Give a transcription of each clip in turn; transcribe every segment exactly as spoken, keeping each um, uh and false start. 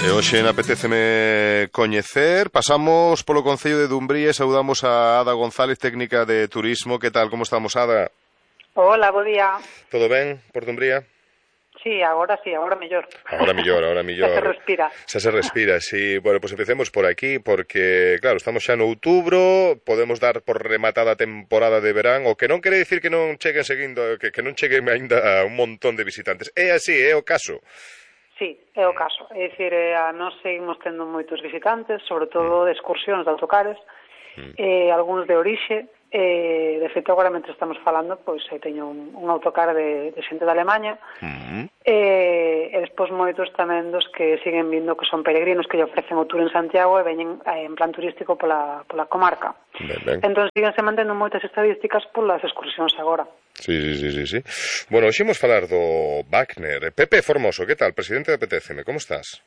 E hoxe apetéceme coñecer, pasamos polo Concello de Dumbría e saudamos a Ada González, técnica de turismo. Que tal, como estamos, Ada? Hola, bo día. Todo ben por Dumbría? Sí, agora sí, agora mellor. Ahora mellor, ahora mellor. Xa se respira. Xa se respira, sí. Bueno, pois pues empecemos por aquí, porque, claro, estamos xa no outubro, podemos dar por rematada a temporada de verán, o que non quere dicir que non cheguen seguindo, que, que non cheguen aínda un montón de visitantes. É así, é o caso. Sí, é o caso. É dicir, eh, a nós seguimos tendo moitos visitantes, sobre todo de excursións de autocares, mm. eh, algúns de orixe. Eh, de feito, agora, mentre estamos falando, pois eu teño un, un autocar de, de xente de Alemanha, mm. eh, e despois moitos tamén dos que siguen vindo, que son peregrinos que lle ofrecen o tour en Santiago e veñen eh, en plan turístico pola, pola comarca. Ben, ben. Entón, siguen se mantendo moitas estadísticas polas excursións agora. Sí, sí, sí, sí, sí. Bueno, hoxe imos falar do Wagner. Pepe Formoso, que tal? Presidente de A P T C M, como estás?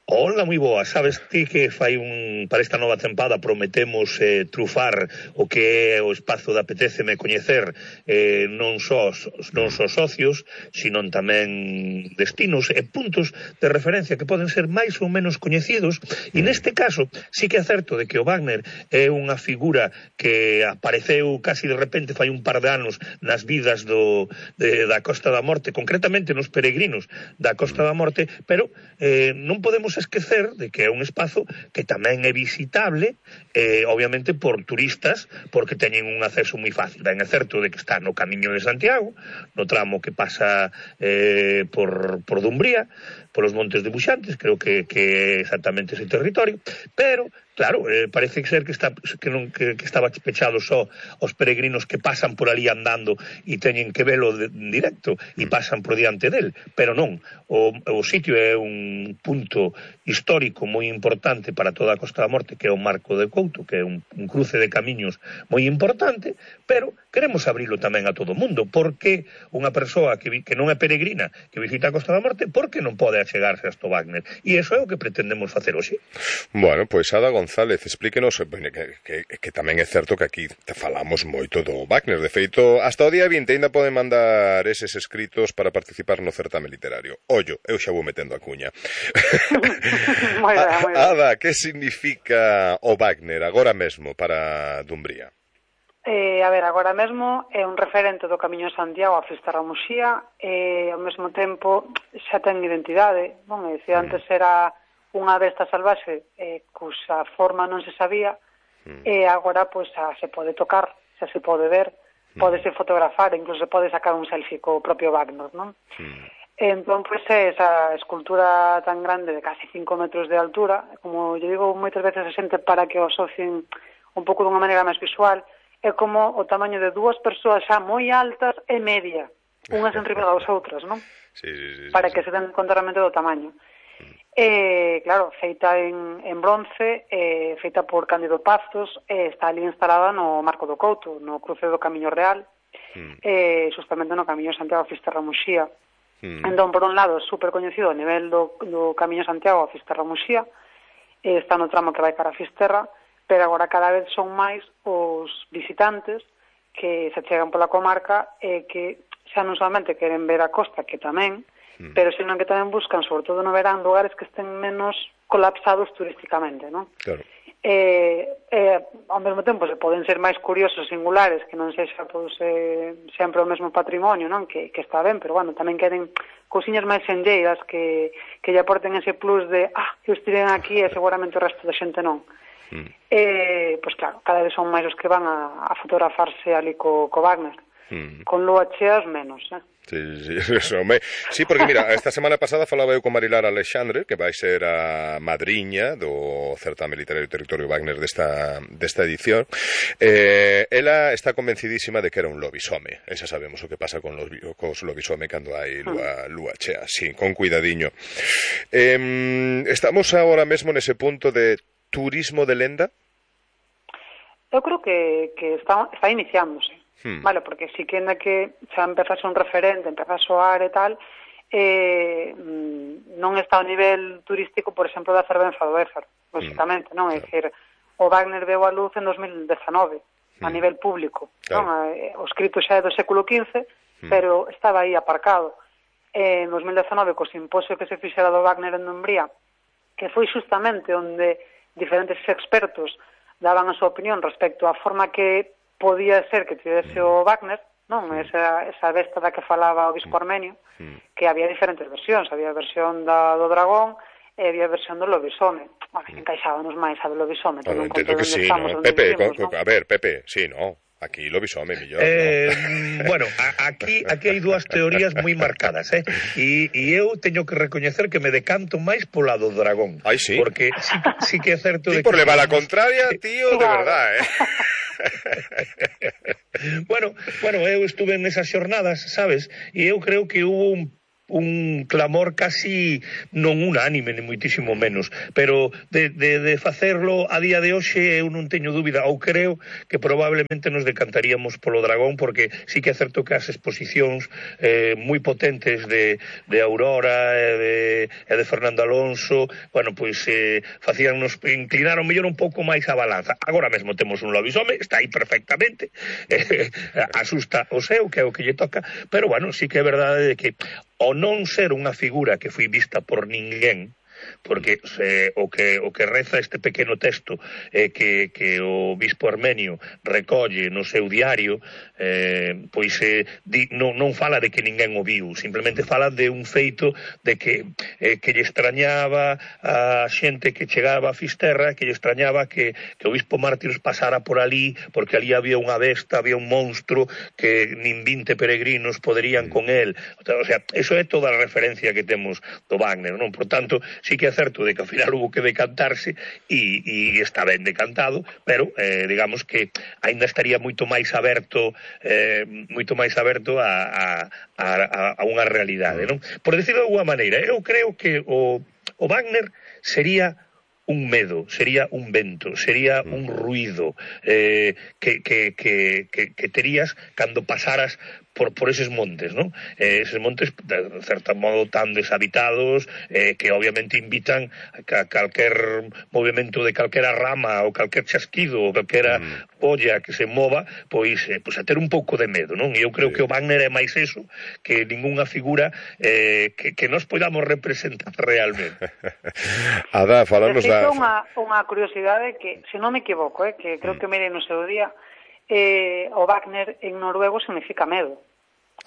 Hola, moi boa. Sabes ti que fai un para esta nova tempada prometemos eh, trufar o que é o espazo da A P T C M coñecer eh, non só non só socios, sino tamén destinos e puntos de referencia que poden ser máis ou menos coñecidos, e neste caso sí que é certo de que o Wagner é unha figura que apareceu casi de repente fai un par de anos nas vidas do, de, da Costa da Morte, concretamente nos peregrinos da Costa da Morte, pero eh, non podemos esquecer de que é un espazo que tamén é visitable, eh, obviamente por turistas, porque teñen un acceso moi fácil. Ben, é certo de que está no Camiño de Santiago, no tramo que pasa eh, por, por Dumbría, polos Montes de Buxantes, creo que, que é exactamente ese territorio, pero claro, eh, parece ser que está que non que, que estaba pechado só aos peregrinos que pasan por ali andando e teñen que velo de, en directo e pasan por diante del, pero non, o, o sitio é un punto histórico moi importante para toda a Costa da Morte, que é o Marco de Couto, que é un, un cruce de camiños moi importante, pero queremos abrilo tamén a todo o mundo, porque unha persoa que, que non é peregrina, que visita a Costa da Morte, porque non pode achegarse hasta o Wagner, e iso é o que pretendemos facer hoxe. Bueno, pois Ada González, explíquenos, que, que, que tamén é certo que aquí te falamos moito do Wagner. De feito, hasta o día vinte ainda poden mandar eses escritos para participar no certame literario. Ollo, eu xa vou metendo a cuña. Moi ben, moi ben. Ada, que significa o Wagner agora mesmo para Dumbría? Eh, a ver, agora mesmo é un referente do Camiño de Santiago a Fisterra Muxía, e ao mesmo tempo xa ten identidade. Bon, é dicir, antes era unha besta salvaxe eh, cuxa forma non se sabía, mm. e agora pois xa se pode tocar, xa se pode ver, mm. podese fotografar, incluso se pode sacar un selfie co propio Wagner, non? Mm. Entón, pois, esa escultura tan grande de casi cinco metros de altura, como eu digo moitas veces a xente para que o asocien un pouco dunha maneira máis visual, é como o tamaño de dúas persoas xa moi altas e media, unhas enriba das outras, non? Sí, sí, sí, para sí, que sí. se den conta realmente do tamaño. Eh, claro, feita en, en bronce, eh, feita por Cándido Pazos, eh, está ali instalada no Marco do Couto, no cruce do Camiño Real, mm. eh, justamente no Camiño Santiago a Fisterra Muxía. Mm. Entón, por un lado, é super coñecido a nivel do, do Camiño Santiago a Fisterra Muxía, eh, está no tramo que vai cara a Fisterra, pero agora cada vez son máis os visitantes que se chegan pola comarca e eh, que xa non solamente queren ver a costa, que tamén, mm. pero senón que tamén buscan, sobre todo no verán, lugares que estén menos colapsados turísticamente, non? Claro. Eh, eh, ao mesmo tempo se poden ser máis curiosos, singulares, que non sexa pois, eh, sempre o mesmo patrimonio, non? Que, que está ben, pero bueno, tamén queren cousiñas máis senlleiras que, que lle aporten ese plus de ah, que estiven aquí e seguramente o resto da xente non. Mm. Eh, pois claro, cada vez son máis os que van a, a fotografarse ali co, co Wagner. Mm. Con lúa cheas menos, eh? Sí, sí, eso, me... sí, porque mira, esta semana pasada falaba eu con Marilar Alexandre, que vai ser a madriña do certame literario Territorio Wagner desta, desta edición. Eh, ela está convencidísima de que era un lobisome. Esa sabemos o que pasa con los, cos lobisome cando hai lúa, lúa chea. Sí, con cuidadiño. Eh, estamos agora mesmo nese punto de turismo de lenda? Eu creo que, que está, está iniciándose. Hmm. Vale, porque si que ainda que xa empeza a ser un referente, empeza a soar e tal, eh, non está ao nivel turístico, por exemplo, da Fervenza do Ézaro, lógicamente, non? É dicir, o Wagner veu a luz en dos mil dezanove, hmm. a nivel público, claro. Non? O escrito xa é do século quince, hmm. pero estaba aí aparcado. En dos mil dezanove, co simposio que se fixera do Wagner en Dumbría, que foi justamente onde diferentes expertos daban a súa opinión respecto á forma que podía ser que tivese o Wagner, non? Esa, esa besta da que falaba o bispo armenio, que había diferentes versións, había a versión da, do dragón e había a versión do lobisome. Bueno, encaixábamos máis a do lobisome. Bueno, entendo que sí, ¿no? Pepe, vivimos, ¿no? A ver, Pepe, sí, no. Aquí lobisome, millón, eh, ¿no? Bueno, a, aquí aquí hai dúas teorías moi marcadas, eh? E, e eu teño que recoñecer que me decanto máis polo lado do dragón. Ai, sí? Porque sí, sí que é certo Ti de por que... levar a contraria, tío, de verdad, eh? bueno, bueno, eu estuve nesas xornadas, sabes? E eu creo que hubo un un clamor casi non unánime, ni moitísimo menos, pero de, de, de facerlo a día de hoxe eu non teño dúbida, ou creo que probablemente nos decantaríamos polo dragón, porque sí que é certo que as exposicións eh, moi potentes de, de Aurora e de, e de Fernando Alonso, bueno, pois eh, facíannos inclinar o mellor un pouco máis a balanza. Agora mesmo temos un lobisome, está aí perfectamente, eh, asusta o seu, que é o que lle toca, pero bueno, sí que é verdade de que o non ser unha figura que foi vista por ninguén, porque eh, o que o que reza este pequeno texto eh, que, que o bispo armenio recolle no seu diario, eh, pois eh, di, non, non fala de que ninguén o viu, simplemente fala de un feito de que eh, que lle extrañaba a xente que chegaba a Fisterra, que lle extrañaba que, que o bispo Mártires pasara por ali, porque ali había unha besta, había un monstro que nin vinte peregrinos poderían con el. O sea, eso é toda a referencia que temos do Wagner, non? Por tanto, sí que é certo de que ao final hubo que decantarse e, e está ben decantado, pero eh, digamos que aínda estaría moito máis aberto eh, moito máis aberto a, a, a, a unha realidade, non? Por decirlo de alguma maneira, eu creo que o, o Wagner sería un medo, sería un vento, sería un ruido eh, que, que, que, que, que terías cando pasaras por, por eses montes, ¿no? Eh, eses montes, de certo modo, tan deshabitados, eh, que obviamente invitan a calquer movimento de calquera rama, ou calquer chasquido, ou calquera mm. olla que se mova, pois, eh, pois a ter un pouco de medo, non? E eu creo sí. que o Wagner é máis eso que ningunha figura eh, que, que nos podamos representar realmente. Ada, falamos da... Unha, unha curiosidade que, se non me equivoco, eh, que creo mm. que mirei no seu día, eh, o Wagner en noruego significa medo.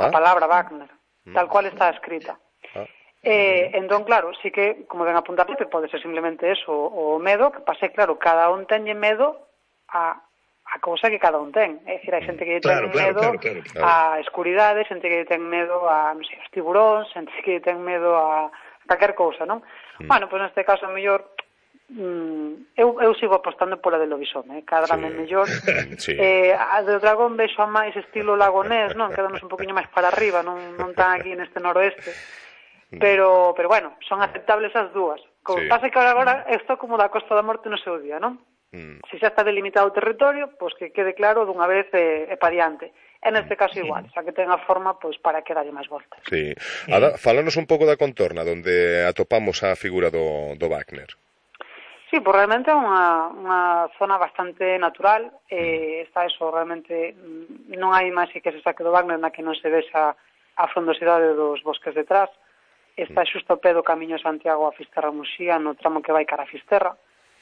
A ah. palabra Wagner, mm. tal cual está escrita. Ah. Eh, entón, claro, sí que, como ven apuntar, pode ser simplemente eso, o medo, que pase, claro, cada un teñe medo a, a cousa que cada un ten. É dicir, hai xente que claro, ten claro, medo claro, claro, claro. a escuridade, xente que ten medo a, non sei, os tiburóns, xente que ten medo a calquer cousa, non? Mm. Bueno, pois pues neste caso, a mellor, mm, eu, eu sigo apostando pola de lobisome, eh? Cadrame sí. mellor. Sí. Eh, a do dragón vexo a máis estilo lagonés, non? Quedamos un poquinho máis para arriba, non, non tan aquí neste noroeste. Pero, pero bueno, son aceptables as dúas. Como sí. pasa que agora isto como da Costa da Morte no seu día, non? Mm. Se xa está delimitado o territorio, pois que quede claro dunha vez e, e pa diante. En este caso igual, xa que ten a forma pois para que dalle máis voltas. Sí. Ada, fálanos un pouco da contorna onde atopamos a figura do, do Wagner. Sí, pois realmente é unha, unha zona bastante natural, eh, está eso, realmente non hai máis que se saque do Wagner na que non se vexa a frondosidade dos bosques detrás, está xusto ao pé do Camiño de Santiago a Fisterra-Muxía, no tramo que vai cara a Fisterra,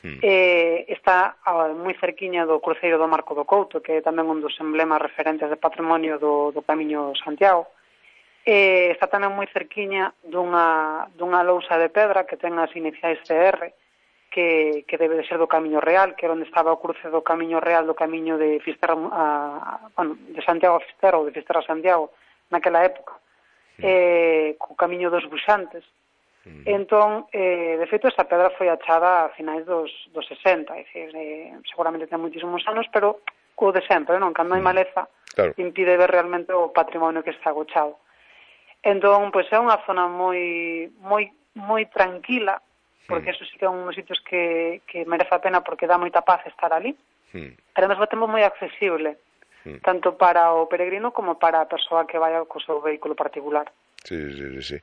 mm. eh, está a, moi cerquiña do cruceiro do Marco do Couto, que é tamén un dos emblemas referentes de patrimonio do, do Camiño de Santiago, eh, está tamén moi cerquiña dunha, dunha lousa de pedra que ten as iniciais C R, que, que debe de ser do Camiño Real, que é onde estaba o cruce do Camiño Real do Camiño de Fisterra a, bueno, de Santiago a Fisterra ou de Fisterra a Santiago naquela época, mm. eh, co Camiño dos Buxantes. Mm. Entón, eh, de feito, esa pedra foi achada a finais dos, dos sesenta, é dicir, eh, seguramente ten moitísimos anos, pero o de sempre, non? Cando hai maleza, claro. Impide ver realmente o patrimonio que está agochado. Entón, pois é unha zona moi moi moi tranquila, porque eso sí que é un dos sitios que, que merece a pena porque dá moita paz estar ali, mm. pero ao mesmo tempo moi accesible, mm. tanto para o peregrino como para a persoa que vai co seu vehículo particular. Sí, sí, sí.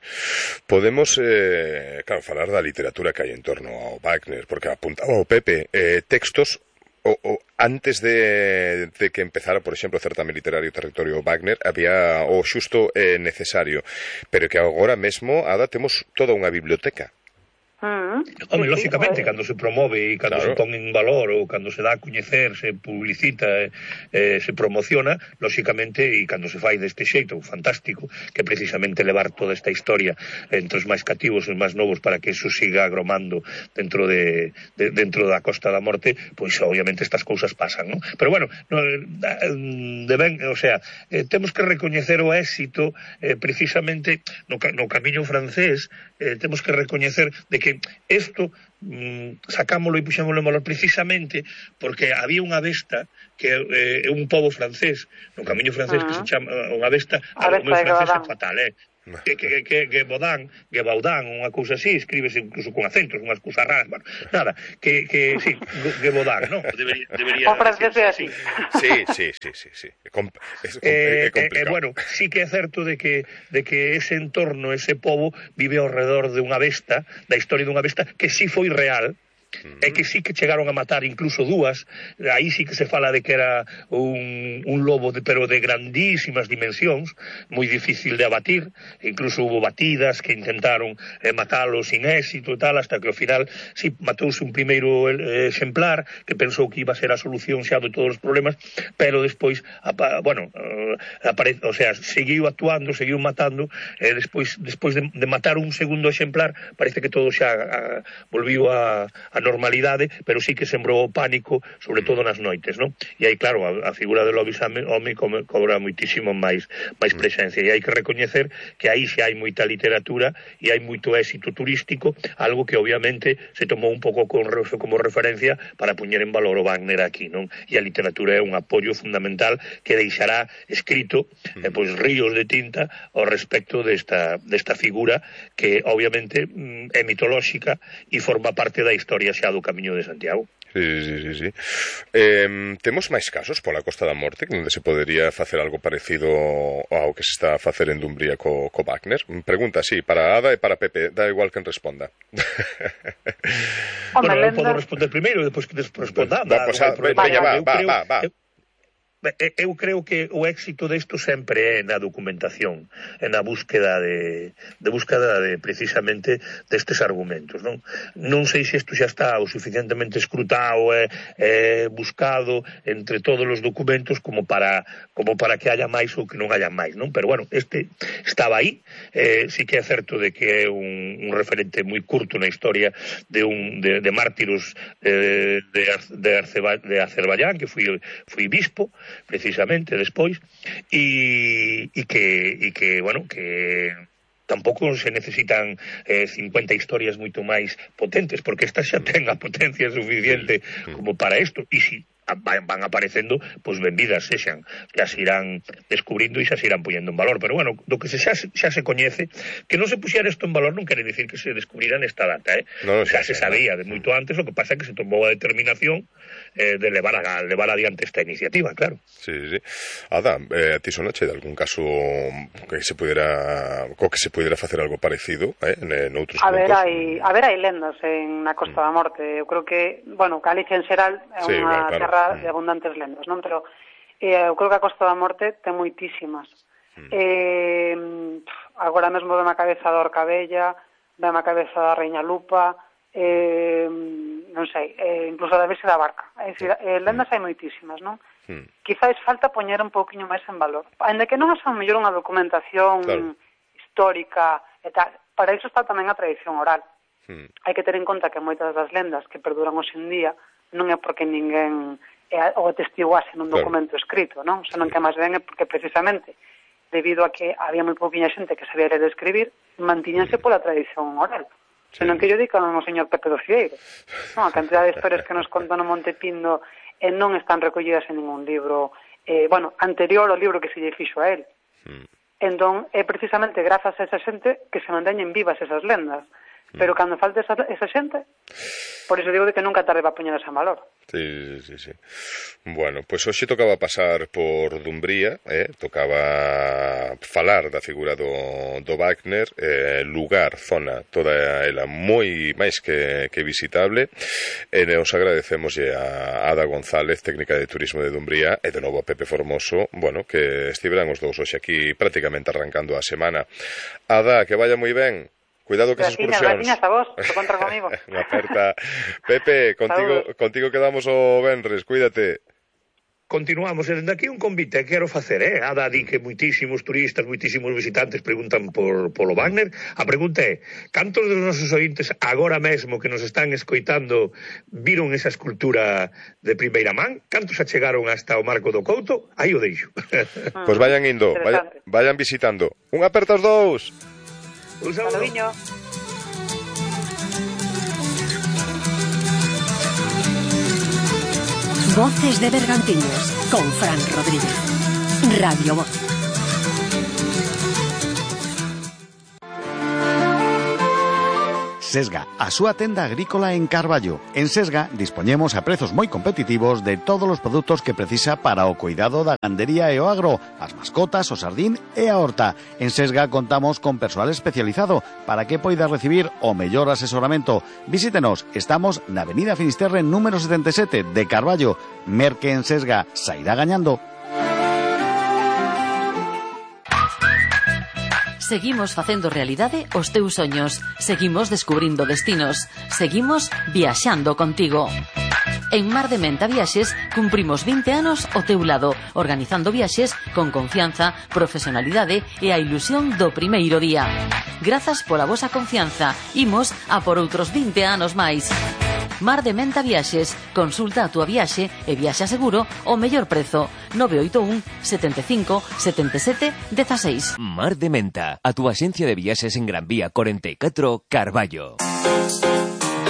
Podemos, eh, claro, falar da literatura que hai en torno ao Wagner, porque apuntaba o Pepe, eh, textos o, o antes de, de que empezara, por exemplo, o certame literario Territorio Wagner, había o xusto eh, necesario, pero que agora mesmo, Ada, temos toda unha biblioteca. Mm, Home, sí, lógicamente, sí, cando se promove e cando claro. se pon en valor ou cando se dá a coñecer, se publicita, eh, eh, se promociona, lógicamente, e cando se fai deste xeito fantástico, que precisamente levar toda esta historia entre os máis cativos e os máis novos para que eso siga agromando dentro de, de dentro da Costa da Morte, pois obviamente estas cousas pasan, non? Pero bueno, no, de ben, o sea, eh, temos que recoñecer o éxito eh, precisamente no, no camiño francés, eh, temos que recoñecer de que isto mm, sacámolo e puxémolo en valor precisamente porque había unha besta que é eh, un pobo francés no camiño francés uh -huh. que se chama unha besta, o meu francés é fatal, eh? que, que, que, que Baudin, que Baudin, unha cousa así, escríbese incluso con acentos, unhas cousas raras, bueno, nada, que, que sí, que Baudin, non? Debería, debería o francés é así. Sí, sí, sí, sí, sí. É, com, é, é complicado. Eh, eh, bueno, sí que é certo de que, de que ese entorno, ese pobo, vive ao redor de unha besta, da historia dunha besta, que sí foi real, é que sí que chegaron a matar incluso dúas, aí sí que se fala de que era un, un lobo de, pero de grandísimas dimensións, moi difícil de abatir, incluso hubo batidas que intentaron eh, matalo sin éxito e tal, hasta que ao final sí matouse un primeiro eh, exemplar que pensou que iba a ser a solución xa de todos os problemas, pero despois apa, bueno, eh, apare, o sea, seguiu actuando, seguiu matando, e eh, despois, despois de, de matar un segundo exemplar, parece que todo xa a, volviu a, a a normalidade, pero sí que sembrou o pánico, sobre todo nas noites, non? E aí, claro, a, a figura do lobo home cobra moitísimo máis máis presencia, e hai que recoñecer que aí xa hai moita literatura e hai moito éxito turístico, algo que obviamente se tomou un pouco con, como referencia para poñer en valor o Wagner aquí, non? E a literatura é un apoio fundamental que deixará escrito eh, pois ríos de tinta ao respecto desta, desta figura que obviamente é mitolóxica e forma parte da historia xa do Camiño de Santiago. Sí, sí, sí, sí. Eh, temos máis casos pola Costa da Morte onde se podería facer algo parecido ao que se está a facer en Dumbría co, co Wagner? Pregunta, sí, para Ada e para Pepe, da igual quen responda. Bueno, eu podo responder primeiro e depois que responda. Va, pues, va, va, va, va, va. Eu creo que o éxito desto sempre é na documentación, é na búsqueda de, de búsqueda de precisamente destes argumentos, non? Non sei se isto xa está o suficientemente escrutado e eh, buscado entre todos os documentos como para como para que haya máis ou que non haya máis, non? Pero bueno, este estaba aí, eh, sí que é certo de que é un, un referente moi curto na historia de un de, de mártiros de, de, de, Arceba, de Azerbaiyán, que foi, foi bispo precisamente despois e, e que e que, bueno, que tampouco se necesitan eh, cincuenta historias moito máis potentes, porque esta xa ten a potencia suficiente como para isto, e si van aparecendo, pois benvidas sexan, xa se irán descubrindo e xa se irán poñendo en valor, pero bueno, do que se xa, xa se coñece, que non se puxera isto en valor non quere dicir que se descubrirá nesta data, eh? No, xa se sabía de moito antes, o que pasa é que se tomou a determinación eh, de levar, a, levar adiante esta iniciativa, claro. Sí, sí. Ada, eh, a ti sonache de algún caso que se pudiera, co que se pudiera facer algo parecido, eh, en, en outros a puntos? Ver, hai, a ver, hai lendas en na Costa mm. da Morte. Eu creo que, bueno, Galicia en xeral é sí, unha claro, terra claro. de abundantes lendas, non? Pero eh, eu creo que a Costa da Morte ten moitísimas. Mm. Eh, agora mesmo veme a cabeza da Orcabella, veme a cabeza da Reina Lupa, eh, non sei, eh, incluso da Virxe da Barca. É dicir, eh, lendas hai moitísimas, non? Mm. Quizáis falta poñer un pouquiño máis en valor. Ainda que non é a mellor unha documentación claro. histórica e tal, para iso está tamén a tradición oral. Mm. Hai que ter en conta que moitas das lendas que perduran hoxe en día non é porque ninguén o atestiguase nun documento claro. escrito, non? Senón que máis ben é porque precisamente debido a que había moi pouquinha xente que sabía ler e escribir, mantíñanse pola tradición oral. Sí. Senón que yo digo ao señor Pepe do Cieiro. Non, a cantidad de historias que nos contan no Monte Pindo e non están recollidas en ningún libro, eh, bueno, anterior ao libro que se lle fixo a él. Mm. Entón, é precisamente grazas a esa xente que se manteñen vivas esas lendas. Pero cando falte esa, esa xente, por iso digo de que nunca tarde va a poñer ese valor. Sí, sí, sí. Bueno, pois pues hoxe tocaba pasar por Dumbría, eh? Tocaba falar da figura do, do Wagner, eh, lugar, zona, toda ela moi máis que, que visitable, e nos agradecemos a Ada González, técnica de turismo de Dumbría, e de novo a Pepe Formoso, bueno, que estiveran os dous hoxe aquí prácticamente arrancando a semana. Ada, que vaya moi ben. Cuidado que esas Graciñas, excursións. graciñas a vos, te contra comigo. Unha aperta. Pepe, contigo, contigo quedamos o venres, cuídate. Continuamos, e dende aquí un convite quero facer, eh? Ada di que moitísimos turistas, moitísimos visitantes preguntan por polo Wagner. A pregunta é, cantos dos nosos ointes agora mesmo que nos están escoitando viron esa escultura de primeira man? Cantos achegaron hasta o Marco do Couto? Aí o deixo. Pois pues vayan indo, vayan, vayan visitando. Un aperta os dous. Un saludo. Voces de Bergantiños con Fran Rodríguez. Radio Voz. Sesga, a súa tenda agrícola en Carballo. En Sesga dispoñemos a prezos moi competitivos de todos os produtos que precisa para o cuidado da gandería e o agro, as mascotas, o sardín e a horta. En Sesga contamos con persoal especializado para que poida recibir o mellor asesoramento. Visítenos, estamos na Avenida Finisterre número setenta e sete de Carballo. Merque en Sesga, sairá gañando. Seguimos facendo realidade os teus soños. Seguimos descubrindo destinos. Seguimos viaxando contigo. En Mar de Menta Viaxes cumprimos vinte anos ao teu lado, organizando viaxes con confianza, profesionalidade e a ilusión do primeiro día. Grazas pola vosa confianza. Imos a por outros vinte anos máis. Mar de Menta Viaxes. Consulta a túa viaxe e viaxa seguro o mellor prezo. nove oito un, sete cinco, sete sete, uno seis. Mar de Menta, a túa axencia de viaxes en Gran Vía cuarenta y cuatro, Carballo.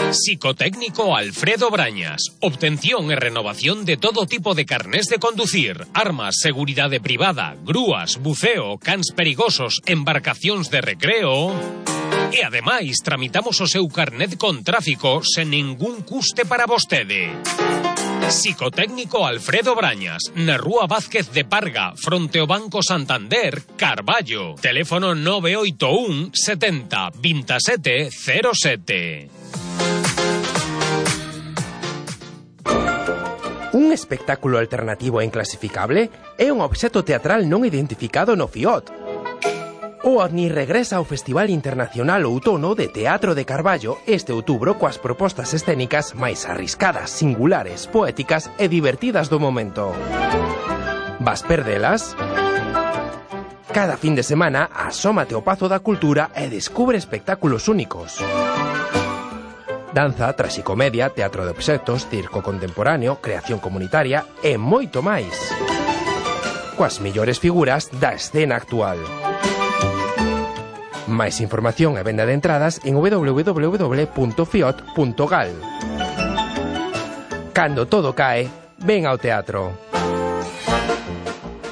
Psicotécnico Alfredo Brañas. Obtención e renovación de todo tipo de carnés de conducir, armas, seguridade privada, grúas, buceo, cans perigosos, embarcacións de recreo. E ademais tramitamos o seu carnet con tráfico sen ningún custe para vostede. Psicotécnico Alfredo Brañas, na Rúa Vázquez de Parga, fronte ao Banco Santander, Carballo. Teléfono nove oito un, setenta, veintisiete, cero sete. Un espectáculo alternativo e inclasificable é un obxecto teatral non identificado no FIOT. O OVNI regresa ao Festival Internacional Outono de Teatro de Carballo este outubro coas propostas escénicas máis arriscadas, singulares, poéticas e divertidas do momento. Vas perdelas? Cada fin de semana asómate ao Pazo da Cultura e descubre espectáculos únicos. Danza, traxicomedia, teatro de obxectos, circo contemporáneo, creación comunitaria e moito máis. Coas mellores figuras da escena actual. Máis información e venda de entradas en w w w punto fiot punto gal. Cando todo cae, ven ao teatro.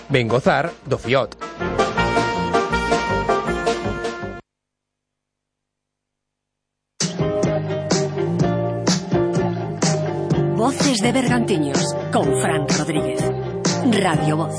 Ven gozar do FIOT. Voces de Bergantiños con Fran Rodríguez. Radio Voz.